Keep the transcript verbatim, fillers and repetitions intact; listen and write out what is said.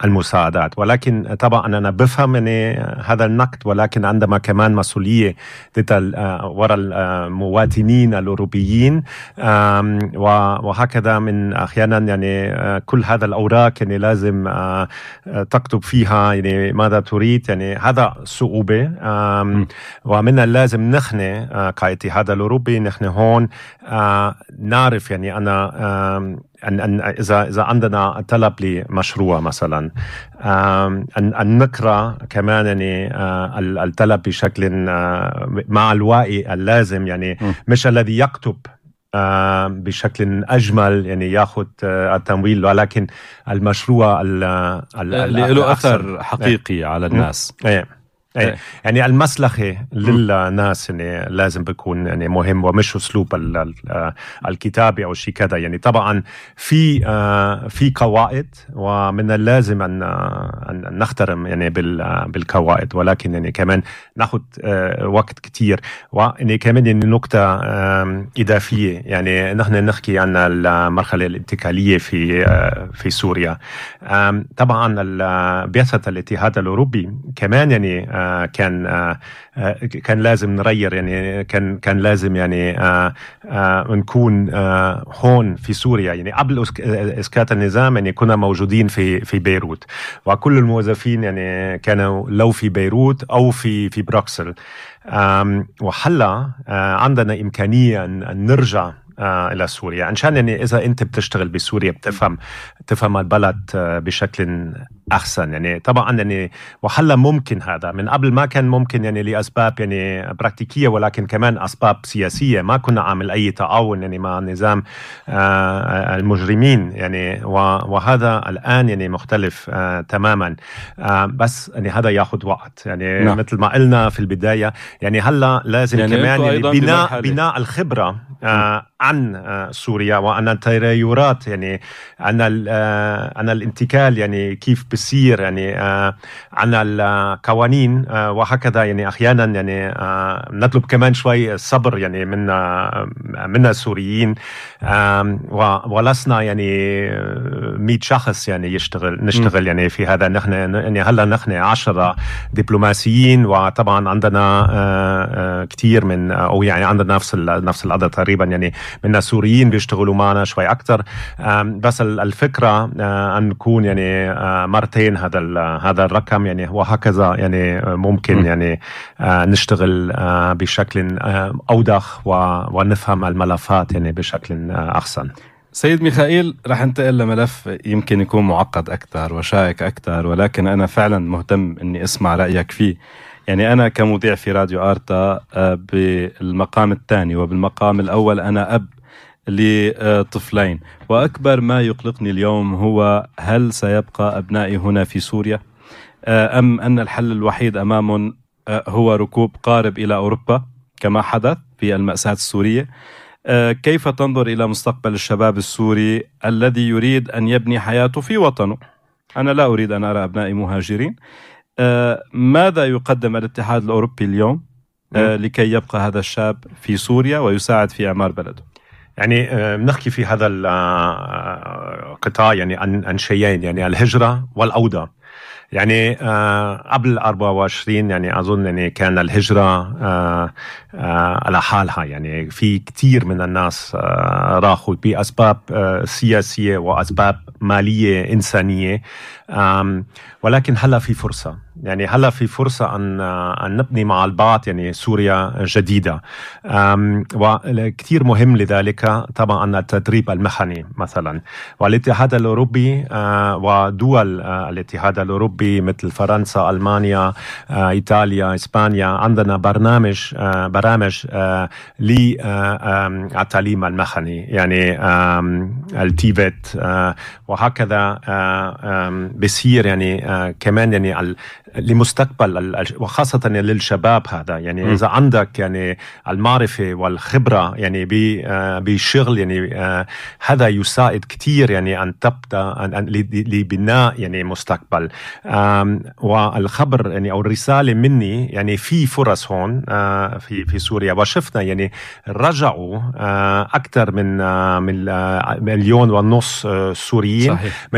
المساعدات. ولكن طبعا أنا بفهم يعني هذا النقد، ولكن عندما كمان مسؤولية وراء المواطنين الأوروبيين، وهكذا من أحيانا يعني كل هذا الأوراق يعني لازم تكتب فيها يعني ماذا تريد، يعني هذا صعوبة. ومن اللازم نحن كاتحاد الأوروبي نحن هون نعرف يعني أنا أن أن إذا إذا عندنا طلب لمشروع مثلا، أن أن نقرأ كمان يعني الطلب بشكل مع الوعي اللازم، يعني مش الذي يكتب بشكل أجمل يعني يأخذ التمويل، ولكن المشروع اللي له أثر حقيقي على الناس. ايه ايه يعني المصلحة للناس يعني لازم بيكون يعني مهم، ومش أسلوب الكتابة أو شيء كذا. يعني طبعا في في قواعد، ومن اللازم أن أن نحترم يعني بالقواعد، ولكن يعني كمان ناخد وقت كتير. ويعني كمان يعني نقطة إضافية، يعني نحن نحكي عن المرحلة الانتقالية في في سوريا. طبعا بعثة الاتحاد الأوروبي كمان يعني كان كان لازم نغير، يعني كان كان لازم يعني نكون هون في سوريا. يعني قبل إسقاط النظام يعني كنا موجودين في في بيروت، وكل الموظفين يعني كانوا لو في بيروت أو في في بروكسل. وحلا عندنا إمكانية أن نرجع إلى سوريا، عشان يعني إذا أنت بتشتغل بسوريا بتفهم تفهم البلد بشكل أحسن. يعني طبعا يعني وحلا ممكن هذا من قبل ما كان ممكن، يعني لأسباب يعني براكتيكية، ولكن كمان أسباب سياسية. ما كنا عامل أي تعاون يعني مع نظام المجرمين يعني، وهذا الآن يعني مختلف تماما. بس يعني هذا ياخد وقت، يعني نعم. مثل ما قلنا في البداية، يعني هلا لازم يعني كمان يعني بناء بناء الخبرة عن سوريا، وعن التغيرات، يعني عن عن الانتقال يعني كيف بصير، يعني عن القوانين وهكذا. يعني أحيانا يعني نطلب كمان شوي صبر يعني من من السوريين، ولسنا يعني مئة شخص يعني يشتغل نشتغل يعني في هذا. نحن يعني هلا نحن عشرة دبلوماسيين، وطبعا عندنا كتير من أو يعني عندنا نفس نفس العدد تقريبا يعني من السوريين بيشتغلوا معنا شوي أكتر. بس الفكرة أن نكون يعني مرتين هذا هذا الرقم يعني، وهكذا يعني ممكن يعني نشتغل بشكل أوضح ونفهم الملفات يعني بشكل أحسن. سيد ميخائيل، رح ننتقل لملف يمكن يكون معقد أكثر وشائك أكثر، ولكن أنا فعلا مهتم أني أسمع رأيك فيه. يعني أنا كمذيع في راديو آرتا بالمقام الثاني، وبالمقام الأول أنا أب لطفلين، وأكبر ما يقلقني اليوم هو هل سيبقى أبنائي هنا في سوريا، أم أن الحل الوحيد أمامهم هو ركوب قارب إلى أوروبا كما حدث في المأساة السورية. كيف تنظر إلى مستقبل الشباب السوري الذي يريد أن يبني حياته في وطنه؟ أنا لا أريد أن أرى أبنائي مهاجرين. ماذا يقدم الاتحاد الأوروبي اليوم لكي يبقى هذا الشاب في سوريا ويساعد في إعمار بلده؟ يعني بنحكي في هذا القطاع يعني عن شيئين، يعني الهجرة والعودة. يعني قبل أربعة وعشرين يعني أظن يعني كان الهجرة على حالها، يعني في كتير من الناس راحوا بأسباب سياسية وأسباب مالية إنسانية. ولكن هلا في فرصة، يعني هلا في فرصة أن أن نبني مع البعض يعني سوريا جديدة. وكتير مهم لذلك طبعا التدريب المهني مثلا. والاتحاد الأوروبي ودول الاتحاد الأوروبي مثل فرنسا، ألمانيا، إيطاليا، إسبانيا عندنا برنامج برامج للتعليم المهني، يعني التيفت وهكذا بيصير يعني كمان يعني لمستقبل وخاصة للشباب هذا. يعني م. إذا عندك يعني المعرفة والخبرة يعني بشغل يعني هذا يساعد كتير يعني أن تبدأ لبناء يعني مستقبل. والخبر يعني أو الرسالة مني يعني في فرص هون في في سوريا، وشفنا يعني رجعوا أكثر من من مليون ونص سوريين. صحيح.